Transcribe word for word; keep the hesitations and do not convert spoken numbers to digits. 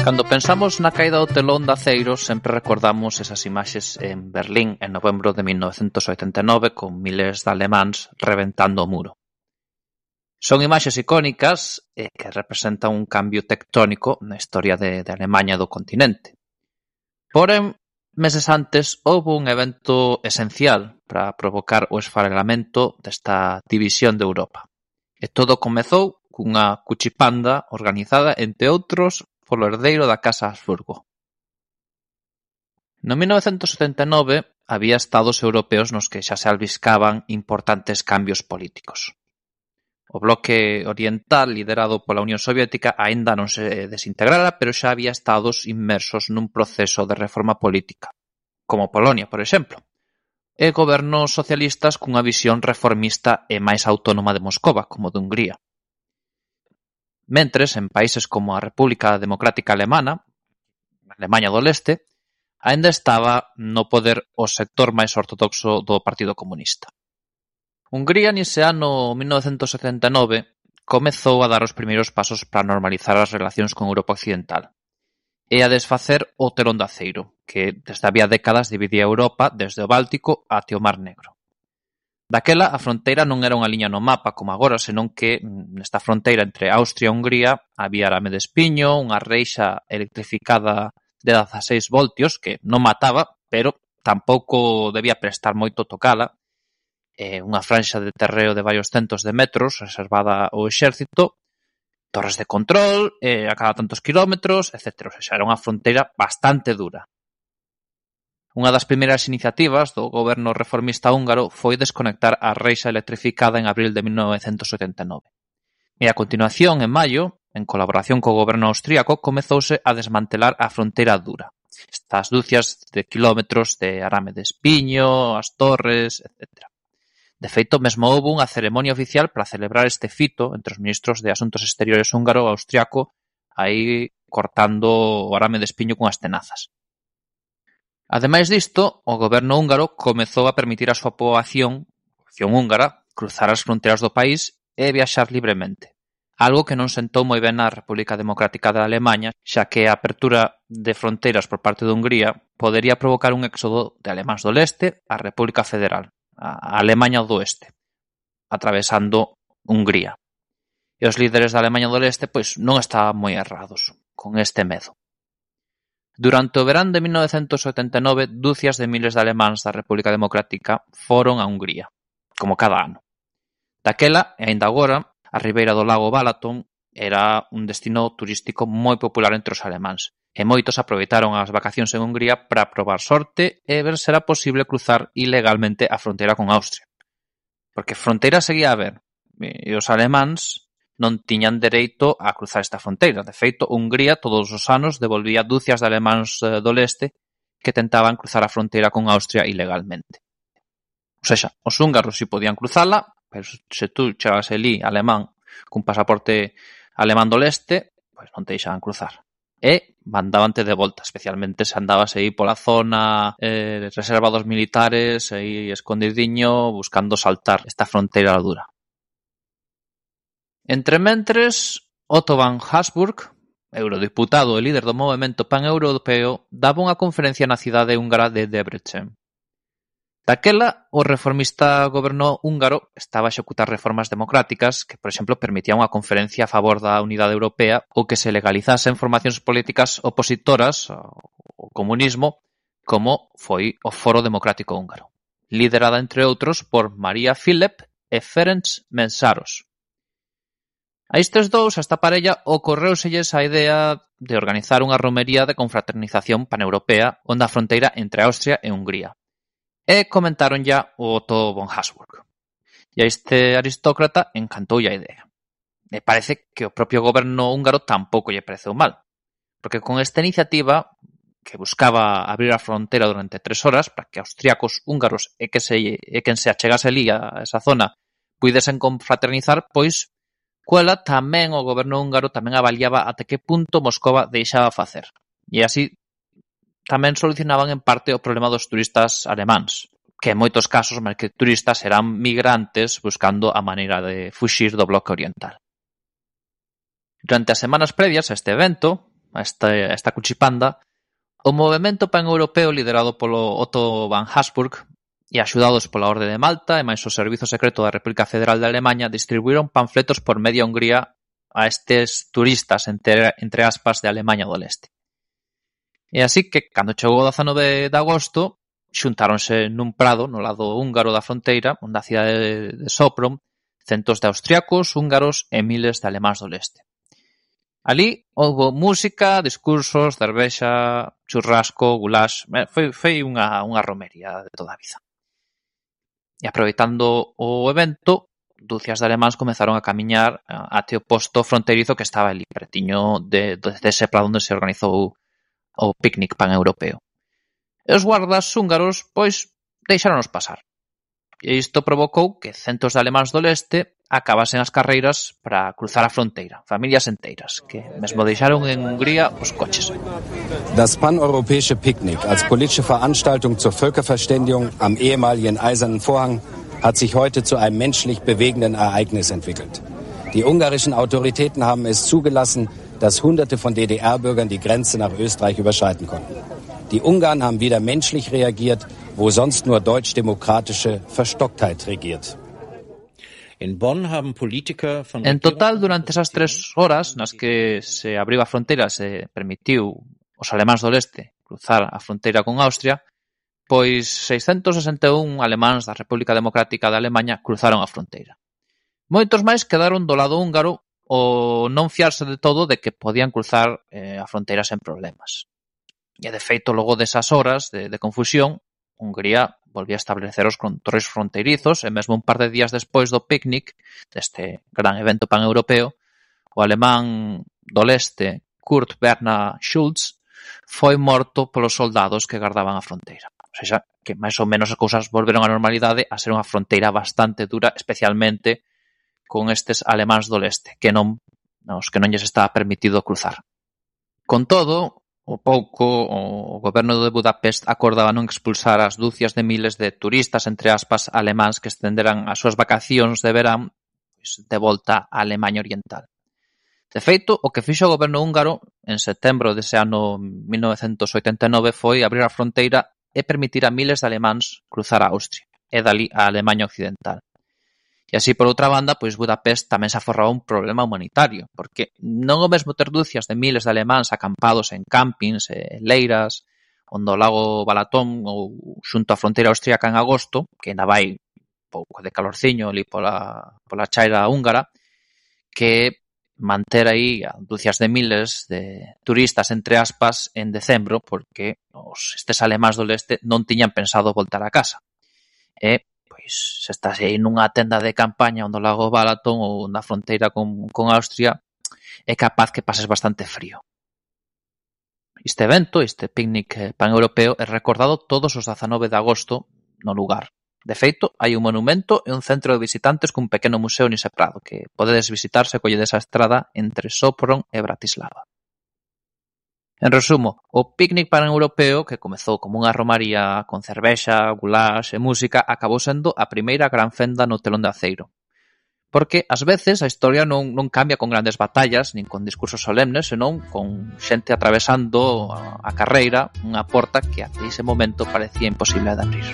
Cando pensamos na caída do telón de aceiro, sempre recordamos esas imaxes en Berlín en novembro de mil novecentos oitenta e nove con miles de alemáns reventando o muro. Son imaxes icónicas eh, que representan un cambio tectónico na historia de, de Alemaña do continente. Porén, meses antes, houve un evento esencial para provocar o esfarelamento desta división de Europa. E todo comezou cunha cuchipanda organizada, entre outros, polo herdeiro da Casa Habsburgo. No mil novecentos setenta e nove había estados europeos nos que xa se albiscaban importantes cambios políticos. O bloque oriental, liderado pola Unión Soviética, aínda non se desintegrara, pero xa había estados inmersos nun proceso de reforma política, como Polonia, por exemplo, e gobernos socialistas cunha visión reformista e máis autónoma de Moscova, como de Hungría. Mentres, en países como a República Democrática Alemana, Alemaña do Leste, aínda estaba no poder o sector máis ortodoxo do Partido Comunista. Hungría, nese ano mil novecentos setenta e nove, comezou a dar os primeiros pasos para normalizar as relacións con Europa Occidental e a desfacer o telón de aceiro, que desde había décadas dividía Europa desde o Báltico até o Mar Negro. Daquela, a fronteira non era unha liña no mapa como agora, senón que nesta fronteira entre Austria e Hungría había arame de espiño, unha reixa electrificada de dezaseis voltios que non mataba, pero tampouco debía prestar moito tocala, eh, unha franxa de terreo de varios centos de metros reservada ao exército, torres de control eh, a cada tantos kilómetros, etcétera. O sea, era unha fronteira bastante dura. Unha das primeiras iniciativas do goberno reformista húngaro foi desconectar a reixa electrificada en abril de mil novecentos setenta e nove. E a continuación, en maio, en colaboración co goberno austríaco, comezouse a desmantelar a fronteira dura. Estas dúcias de kilómetros de arame de espiño, as torres, etcétera. De feito, mesmo houve unha ceremonia oficial para celebrar este fito entre os ministros de Asuntos Exteriores húngaro e austriaco, aí cortando o arame de espiño cunhas tenazas. Ademais disto, o goberno húngaro comezou a permitir a súa poboación, a poboación húngara, cruzar as fronteiras do país e viaxar libremente. Algo que non sentou moi ben na República Democrática de Alemaña, xa que a apertura de fronteiras por parte de Hungría podería provocar un éxodo de alemáns do leste á República Federal, a Alemaña do Oeste, atravesando Hungría. E os líderes da Alemaña do Leste pois non estaban moi errados con este medo. Durante o verán de mil novecentos setenta e nove, dúcias de miles de alemáns da República Democrática foron a Hungría, como cada ano. Daquela, e aínda agora, a ribeira do lago Balaton era un destino turístico moi popular entre os alemáns, e moitos aproveitaron as vacacións en Hungría para probar sorte e ver se era posible cruzar ilegalmente a fronteira con Austria. Porque fronteira seguía a haber, e os alemáns non tiñan dereito a cruzar esta fronteira. De feito, Hungría todos os anos devolvía dúcias de alemáns do leste que tentaban cruzar a fronteira con Austria ilegalmente. O sexa, os húngaros si podían cruzala, pero se tú chegas elí alemán cun pasaporte alemán do leste, pois non te deixaban cruzar. E mandabante de volta, especialmente se andabas aí pola zona eh, reserva dos militares, aí escondidiño, buscando saltar esta fronteira dura. Entre mentres, Otto von Habsburg, eurodiputado e líder do movemento pan-europeo, daba unha conferencia na cidade húngara de Debrecen. Daquela, o reformista goberno húngaro estaba a executar reformas democráticas que, por exemplo, permitían unha conferencia a favor da unidade europea ou que se legalizasen formacións políticas opositoras ao comunismo, como foi o Foro Democrático Húngaro, liderada, entre outros, por Maria Filep e Ferenc Mészáros. A estes dous, a esta parella, ocorreuselles a idea de organizar unha romería de confraternización paneuropea onde a fronteira entre Austria e Hungría. E comentaron ya o Otto von Habsburg. E a este aristócrata encantoulle a idea. E parece que o propio goberno húngaro tampouco lle pareceu mal, porque con esta iniciativa, que buscaba abrir a fronteira durante tres horas para que austriacos, húngaros e que se, e quen se achegase ali a esa zona puidesen confraternizar, pois cuela tamén o goberno húngaro tamén avaliaba até que punto Moscova deixaba facer. E así tamén solucionaban en parte o problema dos turistas alemáns, que en moitos casos máis que turistas eran migrantes buscando a maneira de fuxir do bloque oriental. Durante as semanas previas a este evento, a esta, a esta cuchipanda, o movemento pan-europeo liderado polo Otto von Habsburg e axudados pola Orde de Malta e máis o Servizo Secreto da República Federal de Alemanha distribuíron panfletos por media Hungría a estes turistas, entre, entre aspas, de Alemanha do Leste. E así que, cando chegou o dezanove de agosto, xuntáronse nun prado no lado húngaro da fronteira, onde a cidade de Sopron, centos de austriacos, húngaros e miles de alemáns do leste. Ali houve música, discursos, cervexa, churrasco, goulash, foi, foi unha, unha romería de toda a vida. E aproveitando o evento, dúcias de alemáns comezaron a camiñar até o posto fronteirizo que estaba ali, pretiño de, de, de ese prado onde se organizou o picnic pan-europeo. E os guardas húngaros, pois, deixáronos pasar. E isto provocou que centos de alemáns do leste acabasen as carreiras para cruzar a fronteira, familias enteiras, que mesmo deixaron en Hungría os coches. Das paneuropäische Picknick als politische Veranstaltung zur Völkerverständigung am ehemaligen Eisernen Vorhang hat sich heute zu einem menschlich bewegenden Ereignis entwickelt. Die ungarischen Autoritäten haben es zugelassen, dass Hunderte von D D R-Bürgern die Grenze nach Österreich überschreiten konnten. Die Ungarn haben wieder menschlich reagiert, wo sonst nur deutsch-demokratische Verstocktheit regiert. En total, durante esas tres horas nas que se abriu a fronteira se permitiu os alemáns do leste cruzar a fronteira con Austria, pois seiscentos sesenta e un alemáns da República Democrática de Alemanha cruzaron a fronteira. Moitos máis quedaron do lado húngaro o non fiarse de todo de que podían cruzar eh, a fronteira sen problemas. E de feito, logo desas horas de, de confusión, Hungría volvía a establecer os controis fronteirizos e mesmo un par de días despois do picnic, deste gran evento pan-europeo, o alemán do leste, Kurt Bernhard Schulz, foi morto polos soldados que gardaban a fronteira. O sea, que máis ou menos as cousas volveron á normalidade a ser unha fronteira bastante dura, especialmente con estes alemáns do leste, que non, os que non lles estaba permitido cruzar. Con todo, o pouco, o goberno de Budapest acordaba non expulsar as dúcias de miles de turistas, entre aspas, alemáns que estenderan as súas vacacións de verán pois, de volta á Alemanha Oriental. De feito, o que fixo o goberno húngaro en setembro dese ano mil novecentos oitenta e nove foi abrir a fronteira e permitir a miles de alemáns cruzar a Austria e dali a Alemanha Occidental. E así, por outra banda, pois Budapest tamén se aforraba un problema humanitario, porque non o mesmo ter dúcias de miles de alemáns acampados en campings e leiras, onde o lago Balatón ou xunto á fronteira austríaca en agosto, que ainda vai pouco de calorciño ali pola, pola chaira húngara, que manter aí a dúcias de miles de turistas, entre aspas, en decembro, porque os, estes alemáns do leste non tiñan pensado voltar a casa. E pois se estás aí nunha tenda de campaña onde o lago Balatón ou na fronteira con, con Austria, é capaz que pases bastante frío. Este evento, este picnic pan-europeo, é recordado todos os dezanove de agosto no lugar. De feito, hai un monumento e un centro de visitantes cun pequeno museo nese prado que podedes visitar se colledes a estrada entre Sopron e Bratislava. En resumo, o picnic pan-europeo, que comezou como unha romaría con cervexa, goulash e música, acabou sendo a primeira gran fenda no telón de aceiro. Porque, ás veces, a historia non, non cambia con grandes batallas, nin con discursos solemnes, senón con xente atravesando a, a carreira unha porta que até ese momento parecía imposible de abrir.